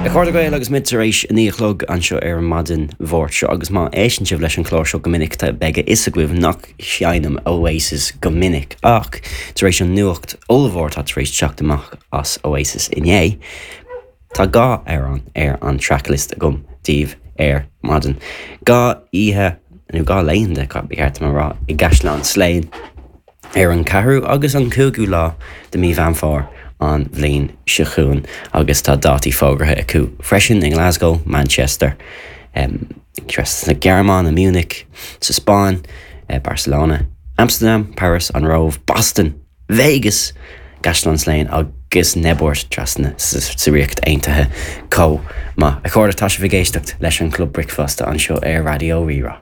A chairde Gael agus muid tar éis 9 a chlog anseo ar an maidin Mháirt seo agus má éisteann sibh leis an chlár seo go minic tá beidh a fhios agaibh nach seinnim Oasis go minic ach tar éis an nuacht ollmhór atá tar éis teacht amach as Oasis inné tá dhá amhrán ar an tracklist agam daoibh ar maidin. Dhá oíche nó dhá laethanta ba cheart dom a rá i gCaisleán Slane. ar an ceathrú agus an cúigiú lá de mí Mheán Fómhair an bhliain seo chugainn agus tá dátaí fógartha acu freisin i nGlasgow, Manchester, sa Ghearmáin, i Munich, sa Spáinn, Barcelona, Amsterdam, Paris, an Róimh, Boston, Vegas, Caisleán Slane agus Newport trasna sa Ríocht Aontaithe chomh maith. A chairde, tá sibh ag éisteacht leis an Club Bricfeasta anseo ar Raidió Rí-Rá.